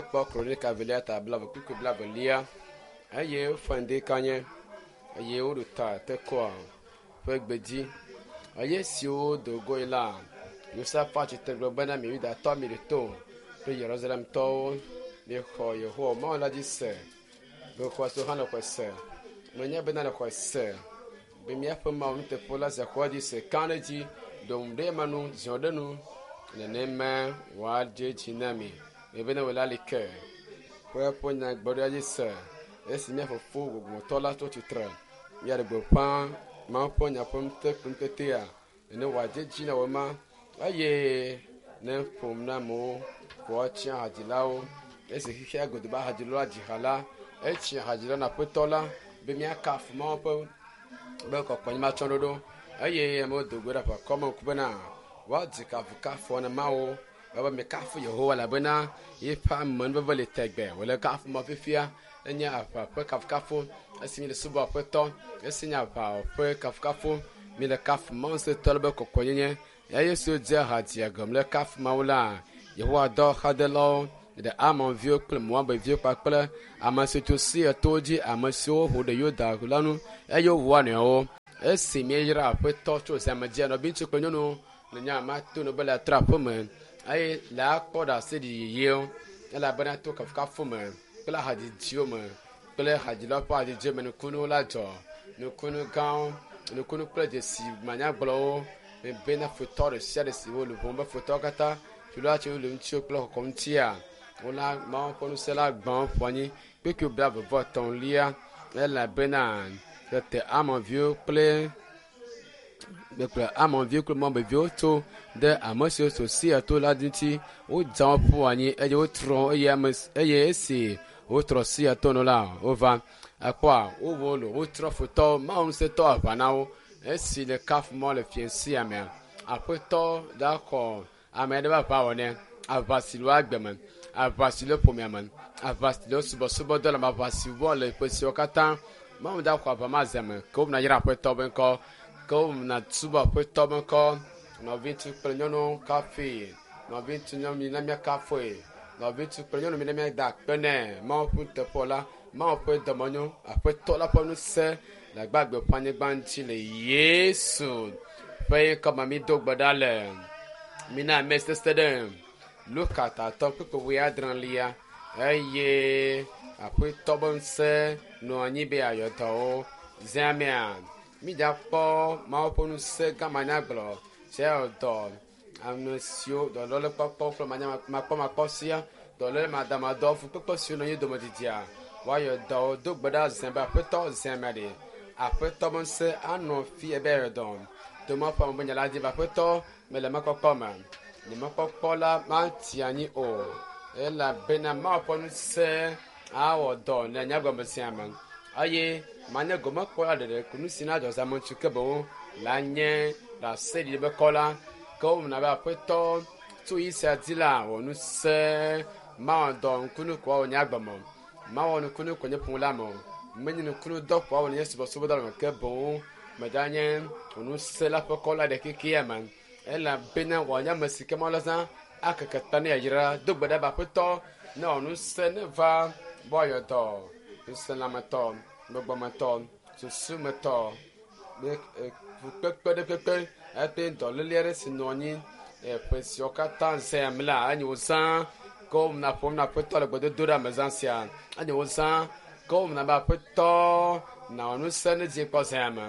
Míakpɔ Kronika velia ta blave kpukpui blavelia eye wofa ŋdi kanye eye woɖo ta Tekoa ƒe gbedzi. Eye siwo do goe la, Yosafat tsitre gblɔ bena, Mi Yudatɔ, miɖo to kple Yerusalemtɔwo, miexɔ Yehowa Mawu la dzi se, mexɔ se hã le xɔe se. Menya bena le xɔe se be míaƒe Mawu nuteƒe la zia xɔa dzi se, ka ɖe edzi, ɖo ŋu ɖe ema nu, ziɔ ɖe nu, nenema wòadze edzi na mi. Ebe ne wòle ali ke ƒe eƒe nyagblɔɖia dzi se esi mía fofo gbɔgbɔmetɔ la tso tsitre míaɖe gbeƒã Mawu ƒe nya ƒe ŋutetea nene wòadze edzi na wò ma eye ne ƒom na amewo ko woatsi hadzilawo esi xexea godo be hadzilawo adzi ha la etsi hadzilawo na aƒetɔ la be míakafu Mawu ƒe be kɔkɔenyimatsɔɖoɖo eye amewo do go ɖe aʋakɔ me ŋku bena woadzi kafukafu na Mawu ebe mikafu Yehowa elabena yeƒe amenuveve li tegbe. Wòle kafu ma fifia enye aʋa ƒe kafukafu esi mi le subɔ aƒetɔ esi nye aʋa ƒe kafukafu mi le kafu Mawu ŋusẽtɔ la be kɔkɔenyenye eye Yesu dze ha dzia gɔme le kafu Mawu la. Yehowa dɔ xadelawo ɖe Amonviwo kple Moabviwo kpakple ame siwo tso Seir towo dzi ame siwo ho ɖe Yuda la ŋu eye wowua nɔewo. Esi míeyra aƒetɔ tso zãme dzia nɔviŋutsu kple nyɔnuwo le nya ma to no be le atrɔ aƒe me eye le akpɔ ɖase ɖi yeyewo elabena to kafukafu me kple hadzidziwo me kple hadzilawo ƒe hadzidziwo me nukunuwo la dzɔ nukunu gãwo nukunu kple dzesi manyagblɔwo bena futɔ ɖe sia ɖe si wo luʋɔ be futɔwo katã tso tso le ŋutiwo kple xɔxɔ ŋutia wola Mawu ƒe ŋusẽ la gbã ƒu anyi kpekpe blaeve vɔ etɔ̃lia elabena tete Amonviwo kple kple Amonviwo kple Moabviwo tso ɖe ame siwo tso Seir to la ŋuti wodza wo ƒu anyi eye wotrɔ eye ame eye esi wotrɔ Seir to nu la wova ekpɔa wowɔ lo wotrɔ futɔwo Mawu ŋusẽtɔ aʋa na wo esi le kafu mɔ le fiẽ sia mea aƒetɔ la xɔ ame aɖe ƒe aʋa wɔ nɛ aʋa si le agbe me aʋa si le ƒomea me aʋa si le subɔsubɔdɔ le me aʋa si wɔ le ƒe siwo katã Mawu da xɔ aʋa ma ze me ke womena yra aƒetɔ be ŋkɔ ke womena subɔ aƒetɔ be ŋkɔ nɔviŋutsu kple nyɔnuwo kafui nɔviŋutsu nyɔnu mi na míakafui nɔviŋutsu kple nyɔnu mi na míada akpe nɛ Mawu ƒe nuteƒewɔla la Mawu ƒe dɔmenyo aƒetɔ la ƒe ŋusẽ le agbagbe ƒe anyigba ŋuti le Yesu ƒe ŋkɔ me mi do gbe ɖa le mina ame sese ɖe Luka tatɔ kpukpui wuiadrelia eye aƒetɔ be ŋusẽ nɔ anyi be yeayɔ dɔwo zã mea mídza kpɔ Mawu ƒe ŋusẽ gã manyagblɔ si ayɔ dɔ ame siwo dɔléle kpɔkpɔ kple makpɔmakpɔ sia dɔléle madamadɔ fukpekpe siwo nɔ anyi dome didia woayɔ dɔwo do gbe ɖa zã be aƒetɔ zã mea ɖe aƒetɔ be ŋusẽ anɔ fi ebe ayɔ dɔ tome ƒe ame be nya la dzi be aƒetɔ mele mɔkpɔkpɔ me nye mɔkpɔkpɔ la mati anyi o elabena Mawu ƒe ŋusẽ awɔ dɔ le nye agbe sia me eye manye gomekpɔla ɖeɖe ko nu si na dzɔ zãme ŋutsu ke boŋ la nye ɖaseɖiɖi be kɔ la ke womena be aƒetɔ tso yi sia dzi la wɔ ŋusẽ mawɔ dɔ nukunu ko awɔ nye agbe me mawɔ nukunu ko nye ƒome la me o menye nukunu dɔ ko awɔ nye subɔsubɔdɔ me ke boŋ medanye ŋusẽ la ƒe kɔ la ɖe kekea me elabena wòanye ame si ke Mawu la zã akeke ta ne yayra do gbe ɖa be aƒetɔ ne wɔ ŋusẽ ne va be woayɔ dɔ ŋusẽlametɔ gbɔgbɔmetɔ susumetɔ fukpekpe ɖe kpekpe ete dɔléle aɖe si nɔ anyi ƒe siwo katã zã me la enye wozã ke womena ƒom na aƒetɔ le gbedodoɖa me zã sia enye wozã ke womena be aƒetɔ na wɔ ŋusẽ ne dzi kpɔ zã me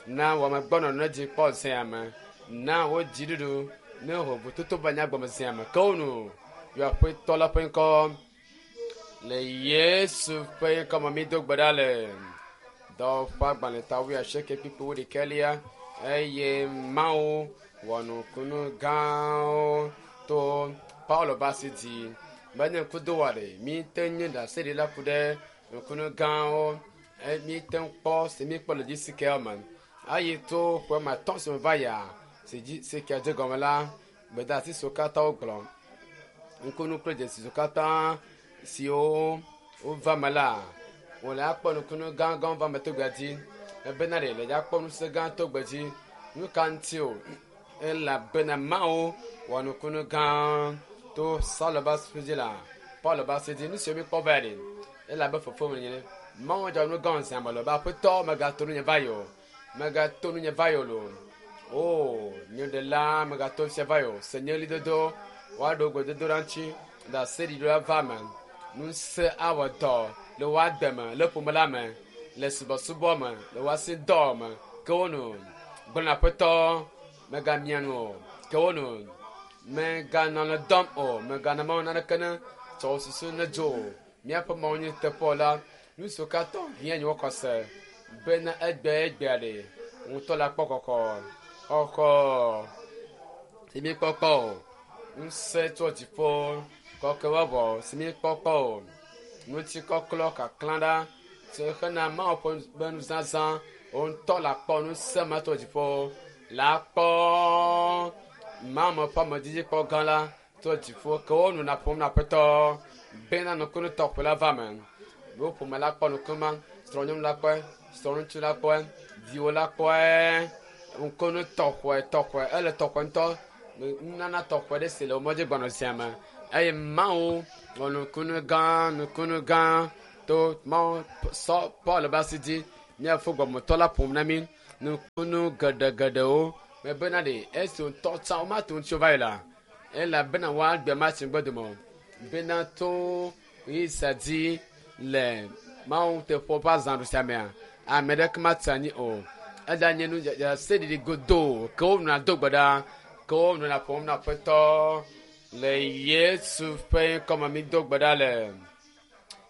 na wɔmegbɔnɔnɔ ne dzi kpɔ zã me na wo dziɖuɖu ne hovototo va nye agbeme zã me ke wo nu yɔ aƒetɔ la ƒe ŋkɔ le Yesu ƒe ŋkɔ me mi do gbe ɖa le dɔwɔƒe agbalẽ ta wuiasieke kpukpui wuiɖekɛlia eye Mawu wɔ nukunu gãwo to Paulo ƒe asi dzi menye ŋkudowa ɖe mi te nye ɖaseɖila ku ɖe nukunu gãwo mi te kpɔ si mi kpɔ le dzi si ke me eye to ƒe ma tɔ̃ si me va yia si dzi si ke dze gɔme la gbedeasi siwo katã wogblɔ nukunu kple dzesi siwo katã siwo wova me la wòle akpɔ nukunu gãgãwo va me to gbea dzi ebena ɖe le dza kpɔ ŋusẽ gã to gbe dzi nu ka ŋuti o elabena Mawu wɔ nukunu gã to Saulo ƒe asi dzi la Paul ba se di nu siwo míkpɔ va yi ɖe elabe fofo me nye Mawu dzɔ nu gã zã me le be aƒetɔ megato nu nye va yi o megato nu nye va yi o lo o nye ɖela megato sia va yi o se nye ɣlidodo woaɖo gbedodo ɖa ŋuti ɖaseɖiɖo la va me ŋusẽ awɔ dɔ le wo agbe me le ƒome la me le subɔsubɔ me le wo asi dɔ me ke wo nu gblɔ aƒetɔ megamia nu o ke wo nu meganɔ le dɔm o meganɔ mawu naneke ne tsɔ wo susu ne dzo o míaƒe mawu nye teƒe la nu siwo katã hiã nye wokɔ se bena egbe egbea ɖe ŋutɔ la kpɔ kɔkɔ xɔxɔ si míkpɔkpɔ o ŋusẽ tso dziƒo kɔkɔe wɔwɔ si míkpɔkpɔ o ŋutikɔklɔ kaklã ɖa si xena mawu ƒe be nuzazã ŋutɔ la kpɔ ŋusẽ ma tso dziƒo la kpɔ mawu ƒe amedzidzi gã la tso dziƒo ke wo nu na ƒom na aƒetɔ bena nukunu tɔxɛ la va me wo ƒome la kpɔ nukuma srɔ̃nyɔnu la kpɔe srɔ̃ŋutsu la kpɔe viwo la kpɔe nukunu tɔxɛ tɔxɛ ele tɔxɛ ŋutɔ nunana tɔxɛ ɖe si le wo mɔdzi gbɔnɔ zia me eye mawu wɔ nukunu gã nukunu gã to mawu sɔ paul be asi dzi míafo gbɔmɔtɔ la ƒom na mí nukunu geɖegeɖewo mebena ɖe esi ŋutɔ tsã womate ŋu tso va yi la elabena woagbe ma si ŋgbe dome o bena to yisa dzi le mawu teƒe ƒe azãɖu sia mea ame ɖeke matsi anyi o eɖa nye nu seɖiɖi godoo ke wo nuna do gbe ɖa ke wo nuna ƒom na aƒetɔ le yesu ƒe ŋkɔme mi do gbe ɖa le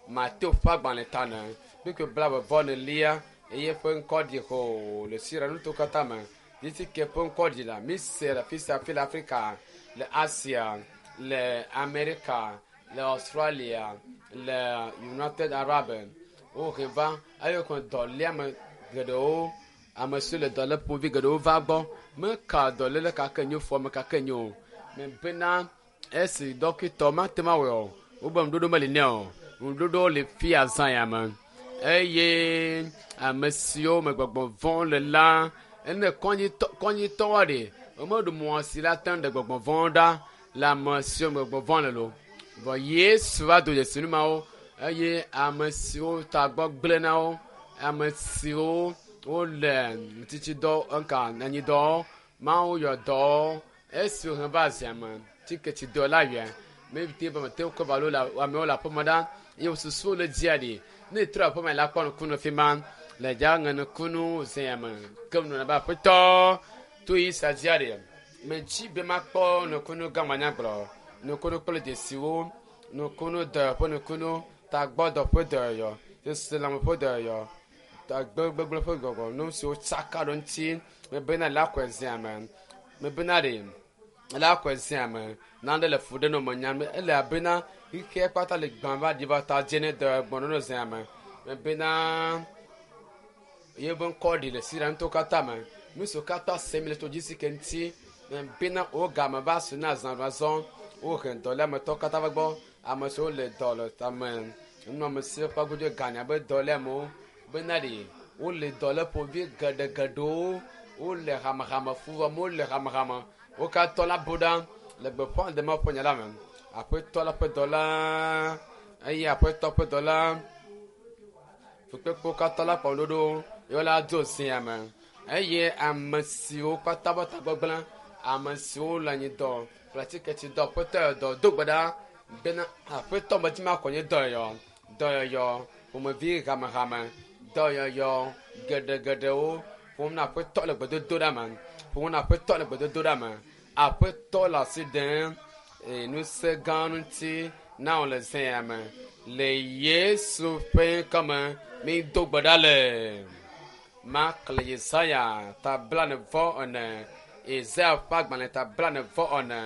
mateo ƒe agbalẽ ta ne kpekpe blaeve vɔ nelia eye ƒe ŋkɔ ɖi ho le siria nuto katã me titi ke ƒe ŋkɔ ɖi la mi se le afi sia afi le afrika le asia le amerika le australia le united arab wohe va eye kɔ dɔléame geɖewo ame siwo le dɔlé ƒomevi geɖewo va gbɔ meka dɔléle kake nyo fɔme kake nyo o me bena esi dɔkitɔ mate ma wɔe o wobe ŋuɖoɖo meli nɛ o ŋuɖoɖo le fia zã ya me eye ame siwo me gbɔgbɔ vɔ̃ le la ene kɔnyitɔwoa ɖe womeɖu mɔ si la te ŋu ɖe gbɔgbɔ vɔ̃ ɖa le ame siwo me gbɔgbɔ vɔ̃ le lo vɔ yesu va do dzesi nu mawo eye ame siwo tagbɔ gblẽ na wo ame siwo wole tsitsidɔ nka anyidɔ mawu yɔ dɔ esi wohe va zia me tsiketsidɔ la yɔe mete be mete kɔ va lo le amewo le aƒeme ɖa eye wosusu le dzia ɖi ne etrɔ aƒeme la kpɔ nukunu fi ma le dza ŋe nukunu zia me ke nu be aƒetɔ to yi sa dzia ɖi metsi be makpɔ nukunu gã manyagblɔ nukunu kple dzesiwo nukunu dɔ ƒe nukunu tagbɔdɔ ƒe dɔyɔyɔ seselãme ƒe dɔyɔyɔ tagbegblẽ ƒe gbɔgbɔ nu siwo tsaka ɖo ŋuti mebena le akɔe zia me mebena ɖe le akɔe zia me nane le fu ɖe nɔ me nyam ele abena xixia kpata le gbã va ɖi va ta dze ne dɔ gbɔnɔ zia me mebena yebe ŋkɔ ɖi le siria ŋutɔ katã me nu siwo katã sem le to dzi si ke ŋuti mebena wo game va su na zã va zɔ wohe dɔléametɔ katã va gbɔ ame siwo le dɔ le tame nunɔamesi ƒe agodzo ganya be dɔléamewo bena ɖe wole dɔléƒovi geɖegeɖewo wole hamehame fu wɔm wole hamehame wo katã la bo ɖa le gbeƒã ɖem ƒe nya la me aƒetɔ la ƒe dɔla eye aƒetɔ ƒe dɔla fukpekpewo katã la kpɔ ɖoɖo yewo la do zia me eye ame siwo katã ƒe tagbɔgblẽ ame siwo le anyi dɔ kple atiketsi dɔ aƒetɔ yɔ dɔ do gbe ɖa bena aƒetɔ medzi ma kɔ nye dɔyɔyɔ dɔyɔyɔ ƒomevi hamehame dɔyɔyɔ geɖegeɖewo ƒom na aƒetɔ le gbedodo ɖa me ƒom na aƒetɔ le gbedodo ɖa me aƒetɔ le asi ɖem ŋusẽ gã ŋuti na wo le zea me le yesu ƒe ŋkɔme mi do gbe ɖa le mak le yesaya ta blane vɔ ene yesaya ƒe agbalẽ ta blane vɔ ene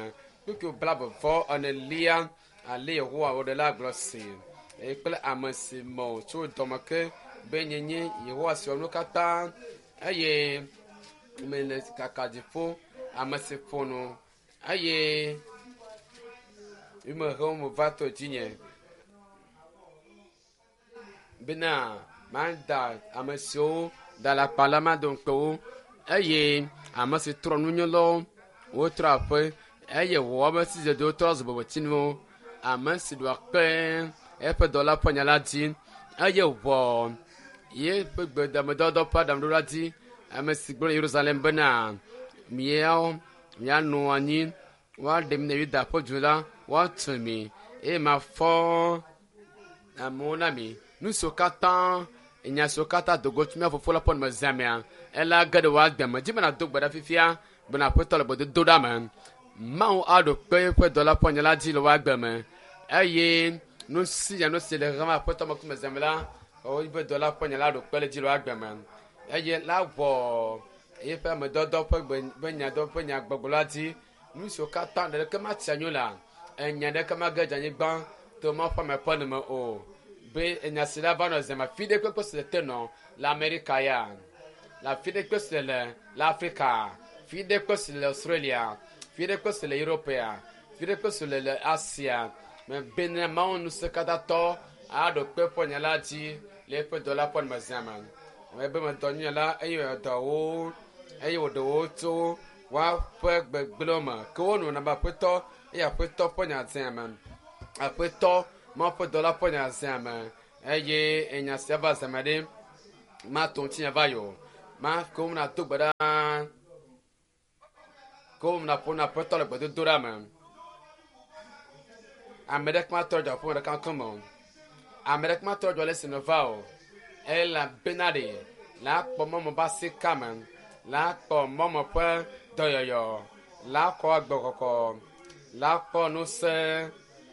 kpukpu blave vɔ ene lia ale yehowa wo ɖe la gblɔ si eye kple ame si me tso dɔme ke be nyenye yehowa si wɔ nu katã eye mele kaka dziƒo ame si ƒo nu eye mehe me va to dzinye bena mada ame siwo da le akpa la mado ŋukpe wo eye ame si trɔ nunyalawo wotrɔ aƒe eye wɔwɔ be sidzedzewo trɔ zu bobotsinuwo. Ame si ɖoa kpe eƒe dɔla ƒe nya la dzi eye wòwɔ yeƒe gbedamedɔdɔ ƒe aɖaŋuɖoɖo la dzi. Ame si gblɔ le Yerusalem bena, miawo mianɔ anyi, woaɖe mi ne Yuda ƒe du la, woatu mi eye mafɔ amewo na mi. Nu siwo katã nya siwo katã do go tso mía fofo la ƒe nume zã mea, ela ge ɖe wò agbe me. Dzi be nàdo gbe ɖa fifia bena Aƒetɔ le gbedodo ɖa me. Mawu aɖo kpe eƒe dɔla ƒe nya la dzi le wò agbe me eye nu sia nu si le xexea me Aƒetɔ me ŋkume zã me la, eƒe dɔla ƒe nya la ɖo kpe ɖe edzi le wò agbe me eye la wɔ eƒe amedɔdɔ ƒe gbe ƒe nyadɔ ƒe nyagbɔgblɔ la dzi. Nu siwo katã ɖeke matsi anyi o la, enya ɖeke mage dze anyigba to Mawu ƒe ame ƒe nu me o. Be enya si la va nɔ zeme afi ɖe kpekpe si le te nɔ le Amerika ya, le afi ɖe kpe si le le Afrika, fi ɖe kpe si le Australia, fi ɖe kpe si le Europea, fi ɖe kpe si le le Asia. Me bena Mawu ŋusẽkatãtɔ aɖo kpe ƒe nya la dzi le eƒe dɔla ƒe numezã me. Ame be medɔ nyuie la eye wòdɔ wo eye wòɖe wo tso woaƒe gbegblẽwo me. Ke wonɔ na be Aƒetɔ eye Aƒetɔ ƒe nya zã me. Aƒetɔ Mawu ƒe dɔla ƒe nya zã me eye enya sia va zã me ɖe mato ŋutinya va yi o. Ma ke womena do gbe ɖa ke womena ƒo na Aƒetɔ le gbedodoɖa me. Ame ɖeke matrɔ dzɔ aƒeme ɖeka ŋkume o. Ame ɖeke matrɔ dzɔ le esi nèva o. Elabena ɖe la kpɔ mɔmɔ ƒe asika me, la kpɔ mɔmɔ ƒe dɔyɔyɔ, la kɔ agbekɔkɔ, la kpɔ ŋusẽ,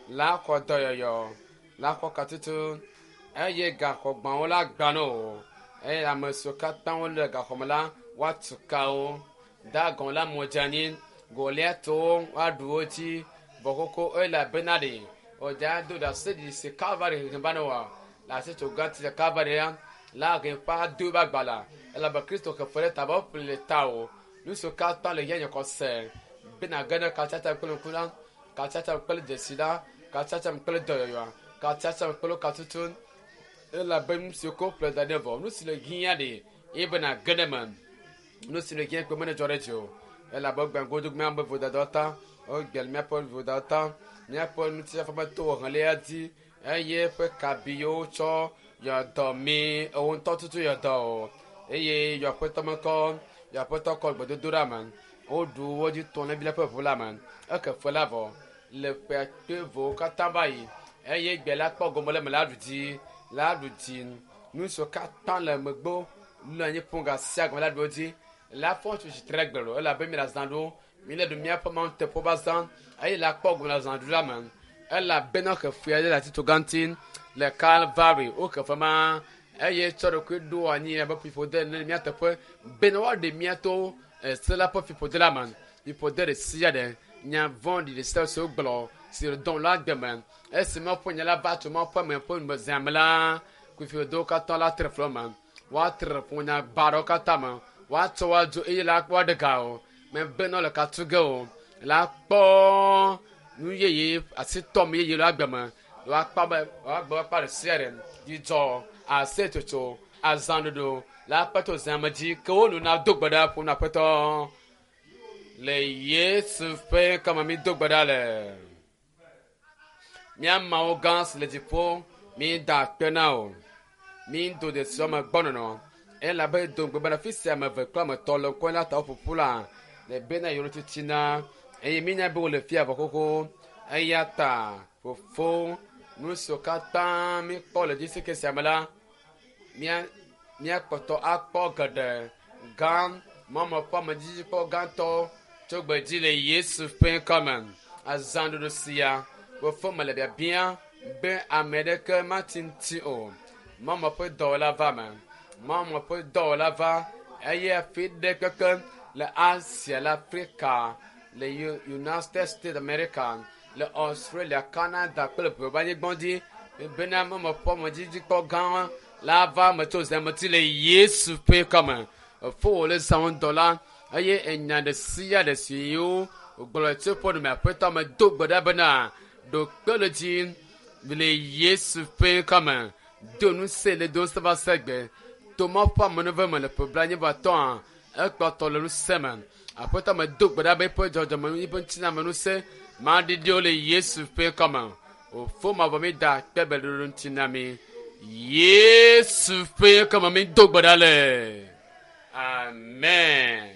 la kɔ dɔyɔyɔ, la kɔ katutu eye gaxɔgbawo la gbã na wo eye ame siwo katã wole gaxɔ me la woatu ka wo. Dagon la mo dze anyi, Goliatwo woaɖu wo dzi vɔ xoxo elabena ɖe wòdza do ɖase ɖi si Kalvari hehe va ne wɔ le asitso gã ti le Kalvari ya la he ƒe ado ƒe agbalẽ elabe Kristo xe fe ɖe ta be woƒle le ta o. Nu siwo katã le hiã nye xɔse bena ge ɖe katsatsa kple ŋku la, katsatsa kple dzesi la, katsatsa kple dɔyɔyɔa, katsatsa kple katutu elabe nu siwo ko ƒle da ɖe vɔ. Nu si le hiã ɖe eye bena ge ɖe me. Nu si le hiã kpe mene dzɔ ɖe dzi o elabe gbɛngodo míaƒe vodadawo ta, wogbe míaƒe vodadawo ta, míaƒe ŋutifafa meto helia dzi eye eƒe kabiwo tsɔ yɔ dɔ mi ewo ŋutɔ tutu yɔ dɔ o eye yɔ aƒetɔ mekɔ yɔ aƒetɔ kɔ gbedodoɖa me woɖu wo dzi tɔ ne vi la ƒe ʋu la me eke fe la vɔ le ƒe akpe vowo katã va yi eye gbe la kpɔ gome le me la ɖu dzi la ɖu dzi nu siwo katã le megbe nɔ anyi ƒo ga sia gome la ɖu wo dzi la fɔ tso tsitre gbe lo elabe mi le azã ɖo mi le ɖu míaƒe mawu teƒe va zã eye la kpɔ gome le azã ɖu la me elabena xefea ɖe le atitsoga ŋuti le Kalvari woxe fe ma eye tsɔ ɖokui ɖo anyi abe fiƒode ene le mía teƒe bena woaɖe mía to ese la ƒe fiƒode la me. Fiƒode ɖe sia ɖe, nya vɔ̃ɖi ɖe sia ɖe si wogblɔ si le dɔm le agbe me esi Mawu ƒe nya la va tso Mawu ƒe ame ƒe numezã me la, kufiƒodewo katã la tre fli me. Woatre ƒo nya baɖawo katã me. Woatsɔ wo adzo eye la woaɖe ga o. Mebe ne wole ka tu ge o. La kpɔ nu yeye asitɔm yeye le agbe me. Woakpɔ be woagbe woakpɔ ɖe sia ɖe dzidzɔ, aseyetsotso, azãɖuɖu la kpe tso zã me dzi ke wo nu na do gbe ɖa ƒo na Aƒetɔ. Le Yesu ƒe ŋkɔ me mi do gbe ɖa le. Mía Mawu gã si le dziƒo, mi da akpe na wò. Mi do dzesi ame gbɔnɔnɔ elabe do ŋugbe bena fi sia ame eve kple ame etɔ̃ le ŋkɔ la ta woƒoƒu la le bena yewo titina eye mínya be wole fia vɔ xoxo. Eya ta fofo nu siwo katã míkpɔ le dzesi ke sia me la, mía míakpɔtɔ akpɔ geɖe gã mɔmɔ ƒe amedzikpɔ gãtɔ tso gbedzi le Yesu ƒe ŋkɔ me. Azãɖuɖu sia fofo mele biabia be ame ɖeke mati ŋuti o. Mɔmɔ ƒe dɔwɔla va me. Mɔmɔ ƒe dɔwɔla va eye afi ɖe kpekpe le Asia, le Afrika, le United States America, le Australia, Canada kple ʋe anyigba dzi bena mɔmɔ ƒe amedzikpɔ gã la va me tso zãmeti le Yesu ƒe ŋkɔ me. Efo wòle zã ŋdɔ la eye enya ɖe sia ɖe si yiwo wògblɔ tso eƒe nume Aƒetɔ me do gbe ɖa bena ɖo kpe ɖe dzi le Yesu ƒe ŋkɔ me. Do ŋusẽ le do ŋusẽ va se gbe. To Mawu ƒe amenuveve me le ƒe blaenyi vɔ atɔ̃a ekpɔtɔ le ŋusẽ me. Aƒetɔ me do gbe ɖa be eƒe dzɔdzɔme eƒe ŋutiname ŋusẽ maɖiɖiwo le Yesu ƒe ŋkɔ me. Wòfo mavɔ mi da kpe be ɖoɖo ŋuti na mi. Yesu ƒe kɔme mi do gbe ɖa le. Amen.